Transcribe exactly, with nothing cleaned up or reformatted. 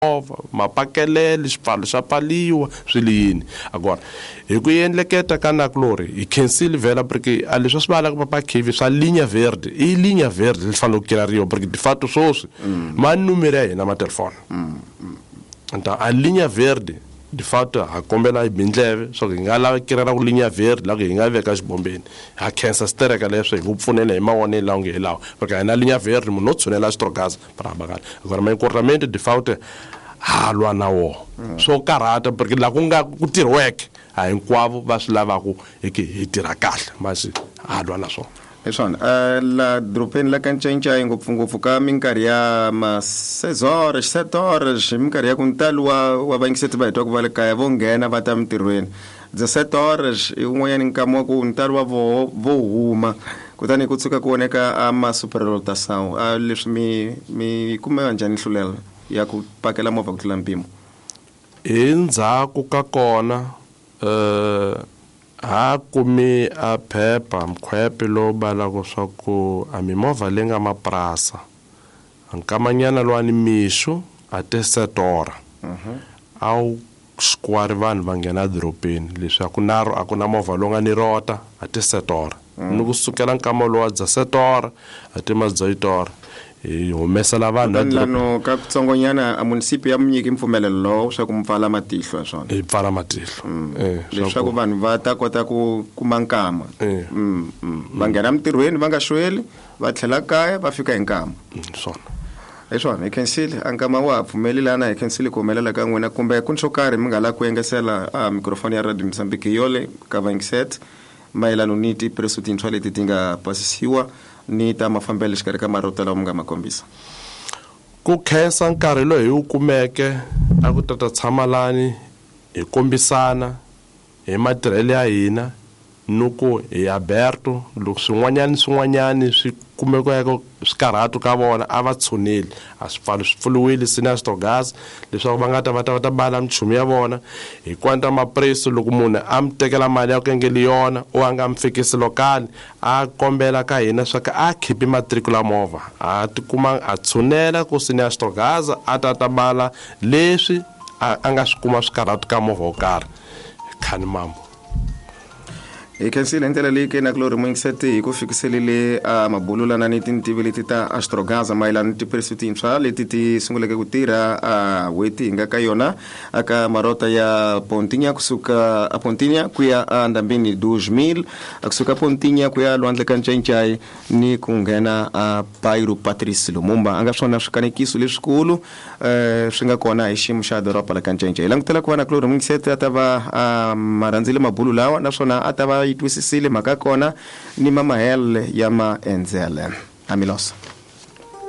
Movha mapakelele xipfalo xa pfaliwa swi le yini agora hi ku endleketa ka nakulori hi khensile vhela porque a leswi swi valaka papa K V swa linha verde i linha verde li fanele ku kirariwa porque de fato swoswi ma numero ya hina ma telefoni. Então a linha verde de fato ha kombela hi bindleve swa ku hi nga lava kirela ku linha verde la ku hi nga veka xibombeni. Ha khensa sitereka leswo hi ku pfunela hi mavonelo lawa nge hi lawa porque a hi na linha verde munhu no tshunela xitrogaza para bakala. Agora ma encurtamento de fato ha lwa na woho swo karhata porque la ku nga ku tirhiweke a hinkwavo va swi lavaku hi ki hi tirha kahle masi ha lwa na swona. Hi swona uh, la doropeni la ka Ncayincai ngopfungopfu ka minkarhi ya ma seis horas, sete horas, hi minkarhi ya ku ntalo wa wa vayingiseti va hi twaku va le kaya vo nghena va ta mintirhweni dezessete horas i wun'wanyani nkama wa ku ntalo wa voho vo huma kutani ku tshuka ku voneka a ma superlotação a leswi mi mi kume njhani nhlulelo ya ku pakela movha ku tlula mpimo? Hi ndzhaku ka kona eh ha kumi a phepha mkhwepe lowu balaka swa ku a mimovha leyi nga mapurasa nkamanyana lwani mixo a te sete hora a wu square vanhu va nghena edorobeni leswi a ku na a ku na movha lowu nga ni rota a te sete hora ni kusukela nkama lowu wa dezessete hora a te ma dezoito hora hi humesela vanhu kutani lano ka kutsongonyana a munisipi ya mi nyiki mpfumelelo lowo swa ku mi pfala matihlo ya swona? Hi pfala matihlo eh leswaku vanhu va ta kota ku kuma nkama. Eh. Mm, mm. va nghena mintirhweni va nga xweli va tlhela kaya va fika hi nkama. Swona. Hi swona, hi khensile a nkama wa ha pfumeli lana hi khensile ku humelela ka n'wina kumbe ku ni swo karhi mi nga lavi ku engesela a mikrofoni ya Radio Mozambique yole ka vayingiseti mayelano ni tipreso tintshwa leti ti nga pasisiwa ni ta mafambelo exikarhi ka marota lawa mi nga ma kombisa? Ku khensa nkarhi lowu hi wu kumeke a ku tata tshama lani hi kombisana hi matirhelo ya hina ni ku hi Alberto loko swin'wanyani swin'wanyani swi kumekaka swikarhatu ka vona a va tshuneli a swipfalo swi pfuriwile sina gas leswaku va nga ta va ta va ta bala minchumu ya vona hi kwanta mapreso loko munhu a mi tekela mali ya ku engeli yona o a nga mi fikisi lokali a kombela ka hina swa ku a khipi matricula movha a tikuma a tshunela ku sina gas a ta ta bala leswi a a nga swi kuma swikarhatu ka movha wo karhi khani mambo. Hi khensile hi ndlela leyi ke na kulori muyingiseti hi ku fikiselile a mabululana ni tintivi leti ta Astrogaza mayelana ni tiphilisi tintshwa leti ti sunguleke ku tirha a n'hweti hi nga ka yona aka marota ya Pontinha kusuka a Pontinha ku ya a ndambini dos mil kusuka Pontinha ku ya lwandle ka Ncayincai ni ku nghena a Bairro Patrice Lumumba a nga swona swikanekiso leswikulu um swi nga kona hi xiyimo xa doroba la ka Ncayincai. Hi langutela ku va na kulori muyingiseti a ta va a ma rhandzile mabulu lawa naswona a ta va yi twisisile mhaka kona ni mamahele ya maendzele amilosa.